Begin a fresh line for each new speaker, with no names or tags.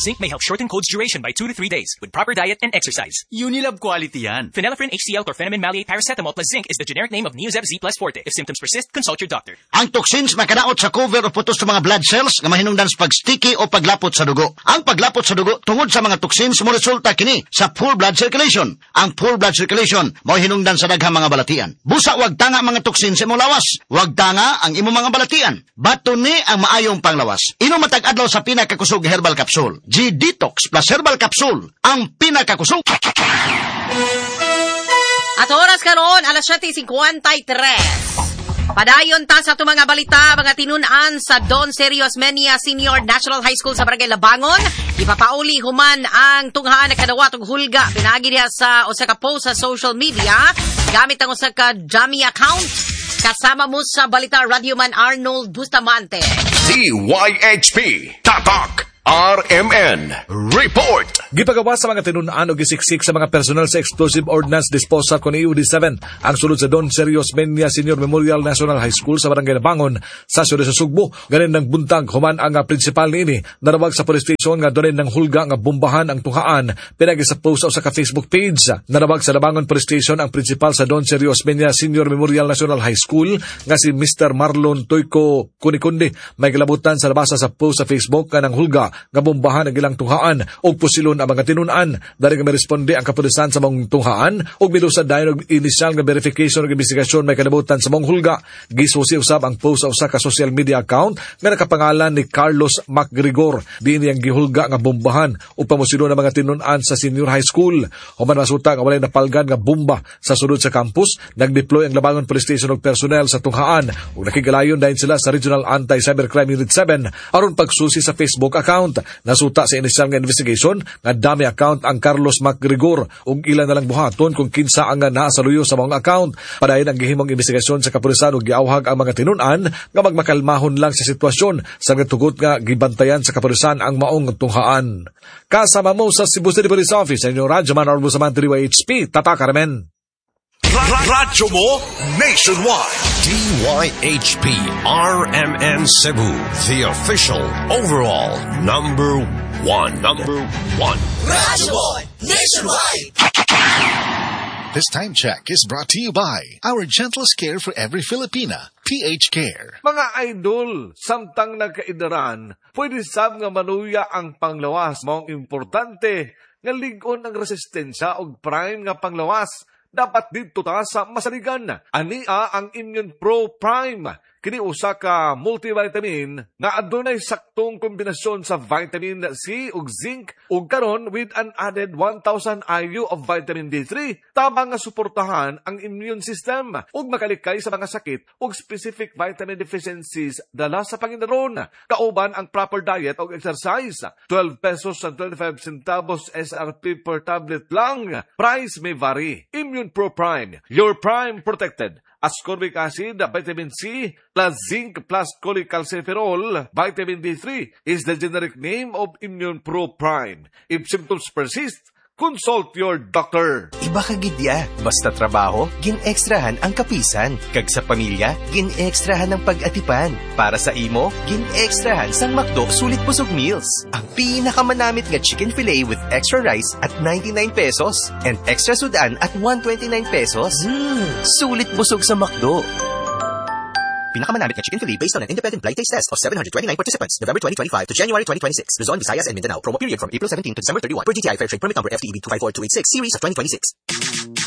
Zinc may help shorten cold's duration by 2 to 3 days with proper diet and exercise.
Unilab quality yan.
Phenylephrine HCL chlorphenamine maleate paracetamol plus zinc is the generic name of Neozep Z Plus Forte. If symptoms persist, consult your doctor.
Ang toxins makadaot sa cover o putos sa mga blood cells nga mahinungdan sa pagsticky o paglapot sa dugo. Ang paglapot sa dugo tungod sa mga toxins mo resulta kini sa poor blood circulation. Ang poor blood circulation mao hinungdan sa daghang mga balatian. Busa wag tanga mga toxins sa imong lawas. Wag tanga ang imong mga balatian. Bato ni ang maayong panglawas. Inom matag adlaw sa pinakakusog herbal capsule. G-Detox Plus Herbal Capsule, ang pinakakusog.
At oras karon, alas 7:53. Padayon ta sa atong mga balita, mga tinun-an sa Don Sergio Osmeña Senior National High School sa Barangay Labangon. Ipapauli human ang tunghaan na kadawat og hulga pinaagi diha sa usa ka post sa social media gamit ang usa ka dummy account. Kasama mo sa balita, Radyoman Arnold Bustamante.
DYHP Tatak RMN Report.
Gipagawa sa mga tinun-an og gisiksik sa mga personal sa Explosive Ordnance Disposal kon EOD 7 ang sulod sa Don Sergio Osmeña Senior Memorial National High School sa Barangay Labangon sa siyudad sa Sugbo. Ganin ng buntag human ang principal niini narawag sa police station nga dunay nang hulga nga bombahan ang tunghaan pinagi sa post sa usa ka Facebook page. Narawag sa Labangon Police Station ang principal sa Don Sergio Osmeña Senior Memorial National High School nga si Mr. Marlon Toyco Kunikundi. May galabutan sa nabasa sa post sa Facebook nga nang hulga nga bombahan ang ilang tunghaan og pusilon ang mga tinun-an. Dari nga miresponde ang kapulisan sa maong tunghaan ug milusad dayon og inisyal nga verification ug investigasyon may kalibutan sa maong hulga. Gisusi usab ang post sa usa ka social media account nga nakapangalan ni Carlos MacGregor. Diin niyang gihulga nga bombahan ug pamusilon ang mga tinun-an sa senior high school. Human masuta nga walay napalgan nga bomba sa sulod sa campus, nagdeploy ang Labangon Police Station og personnel sa tunghaan ug nakigalayon dayon sila sa Regional Anti-Cybercrime Unit 7 aron pagsusi sa Facebook account. Nasuta sa inisyal nga investigation nga dummy account ang Carlos MacGregor ug ilan na lang buhaton kung kinsa ang naa sa luyo sa mga account. Padayon ang gihimong investigasyon sa kapulisan ug giawhag ang mga tinun-an nga magmakalmahon lang sa sitwasyon sa tugot nga gibantayan sa kapulisan ang maong tunghaan. Kasama mo sa Cebu City Police Office, sa inyong Radyo Man Arbo sa DYHP, Tatak RMN.
Radyo mo nationwide.
DYHP RMN Cebu, the official overall number one. Number one.
Radyo mo nationwide.
This time check is brought to you by our gentlest care for every Filipina, PH Care.
Mga idol, samtang nagkaidaran, pwede sab nga maluya ang panglawas. Maong importante nga lig-on ang resistensya og prime nga panglawas. Dapat dito ta sa masaligan. Ania ang Immune Pro Prime. Kini usa ka multivitamin nga adunay saktong kombinasyon sa vitamin C ug zinc ug karon with an added 1000 IU of vitamin D3, tabang nga suportahan ang immune system ug makalikay sa mga sakit ug specific vitamin deficiencies dala sa pangindaron. Kauban ang proper diet ug exercise. 12 pesos and 25 centavos SRP per tablet lang. Price may vary. Immune Pro Prime, your prime protected. Ascorbic acid, vitamin C, plus zinc, plus cholecalciferol, vitamin D3 is the generic name of Immune Pro Prime. If symptoms persist, consult your doctor.
Iba ka gidya. Basta trabaho, gin-extrahan ang kapisan. Kag sa pamilya, gin-extrahan ang pag-atipan. Para sa imo, gin-extrahan sang McDo Sulit Busog Meals. Ang pinakamanamit nga chicken fillet with extra rice at 99 pesos and extra sudan at 129 pesos. Sulit busog sa McDo.
Pinakamanamit nga chicken fillet based on an independent blind taste test of 729 participants, November 2025 to January 2026. Luzon, Visayas, and Mindanao. Promo period from April 17 to December 31. Per DTI Fair Trade Permit number FTEB 254286, series of 2026.